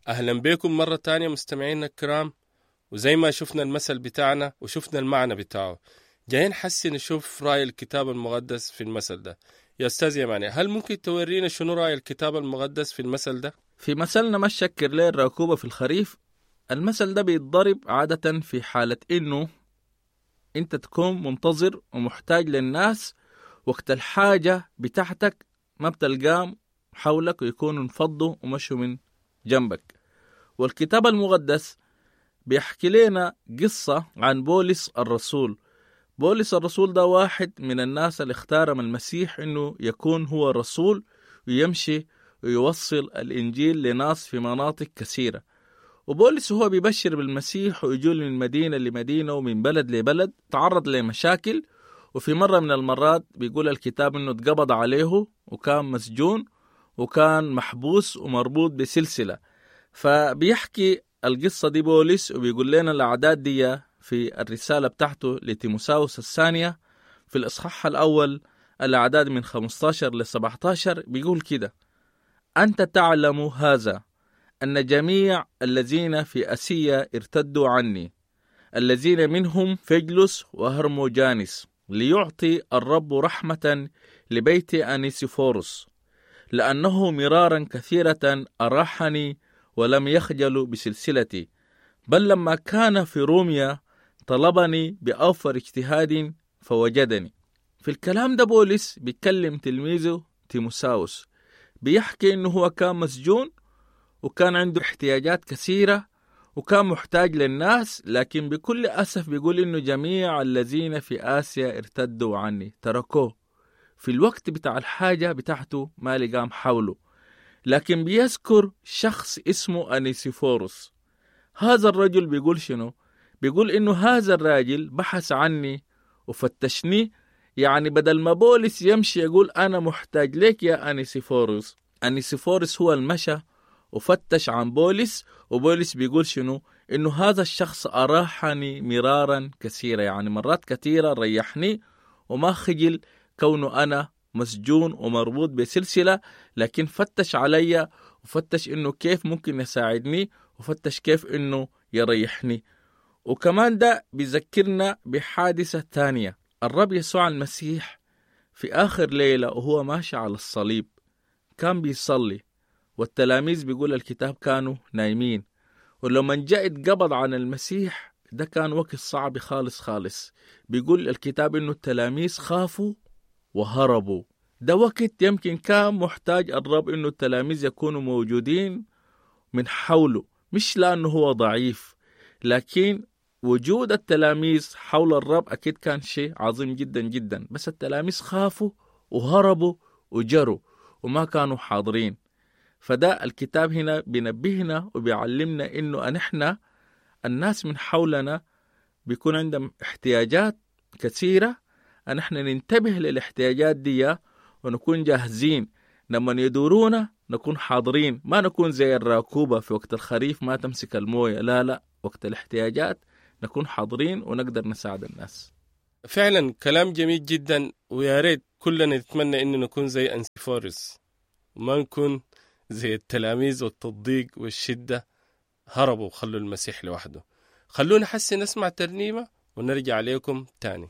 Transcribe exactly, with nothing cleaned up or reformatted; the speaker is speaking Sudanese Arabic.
أهلا بكم مرة تانية مستمعينا الكرام. وزي ما شفنا المثل بتاعنا وشفنا المعنى بتاعه، جايين حسي نشوف رأي الكتاب المقدس في المثل ده. يا أستاذ يماني، هل ممكن تورينا شنو رأي الكتاب المقدس في المثل ده؟ في مثلنا ما تشكر ليه الراكوبة في الخريف، المثل ده بيتضرب عادة في حالة إنه أنت تكون منتظر ومحتاج للناس وقت الحاجة بتاعتك ما بتلقام حولك ويكونوا انفضوا ومشوا من جنبك. والكتاب المقدس بيحكي لنا قصة عن بولس الرسول. بولس الرسول ده واحد من الناس اللي اختارهم المسيح إنه يكون هو الرسول ويمشي ويوصل الإنجيل لناس في مناطق كثيرة. وبولس هو بيبشر بالمسيح ويجول من مدينة لمدينة ومن بلد لبلد، تعرض لمشاكل. وفي مرة من المرات بيقول الكتاب إنه اتقبض عليه وكان مسجون وكان محبوس ومربوط بسلسلة. فبيحكي القصة دي بولس وبيقول لنا الأعداد دي في الرسالة بتاعته لتيموساوس الثانية في الإصحاح الأول الأعداد من خمستاشر ل سبعتاشر، بيقول كده: أنت تعلم هذا، أن جميع الذين في أسيا ارتدوا عني، الذين منهم فجلس وهرموجانس، ليعطي الرب رحمة لبيت أنيسيفورس، لأنه مرارا كثيرة أراحني ولم يخجل بسلسلتي، بل لما كان في روميا طلبني بأوفر اجتهاد فوجدني. في الكلام ده بولس بيتكلم تلميذه تيموساوس، بيحكي إنه هو كان مسجون وكان عنده احتياجات كثيرة وكان محتاج للناس، لكن بكل أسف بيقول إنه جميع الذين في آسيا ارتدوا عني، تركوه في الوقت بتاع الحاجة بتاعته ما لقام حوله. لكن بيذكر شخص اسمه أنيسيفورس. هذا الرجل بيقول شنو؟ بيقول إنه هذا الراجل بحث عني وفتشني. يعني بدل ما بولس يمشي يقول أنا محتاج لك يا أنيسيفورس، أنيسيفورس هو المشى وفتش عن بولس. وبولس بيقول شنو؟ إنه هذا الشخص أراحني مرارا كثيرة، يعني مرات كثيرة ريحني وما خجل كونه أنا مسجون ومربوط بسلسلة، لكن فتش علي وفتش إنه كيف ممكن يساعدني وفتش كيف إنه يريحني. وكمان ده بيذكرنا بحادثة تانية. الرب يسوع المسيح في آخر ليلة وهو ماشي على الصليب كان بيصلي، والتلاميذ بيقول الكتاب كانوا نايمين. ولما جاء اتقبض عن المسيح ده كان وقت صعب خالص خالص. بيقول الكتاب إنه التلاميذ خافوا وهربوا. ده وقت يمكن كان محتاج الرب إنه التلاميذ يكونوا موجودين من حوله، مش لأنه هو ضعيف، لكن وجود التلاميذ حول الرب أكيد كان شيء عظيم جدا جدا. بس التلاميذ خافوا وهربوا وجروا وما كانوا حاضرين. فده الكتاب هنا بينبهنا وبيعلمنا إنه نحن الناس من حولنا بيكون عندهم احتياجات كثيرة، نحن ننتبه للاحتياجات دي ونكون جاهزين لما يدورونا نكون حاضرين، ما نكون زي الراكوبة في وقت الخريف ما تمسك الموية، لا لا، وقت الاحتياجات نكون حاضرين ونقدر نساعد الناس. فعلا كلام جميل جدا، ويا ريت كلنا نتمنى إنه نكون زي أنسيفورس وما نكون زي التلاميذ والتضييق والشدة هربوا وخلوا المسيح لوحده. خلونا حسي نسمع ترنيمة ونرجع عليكم تاني.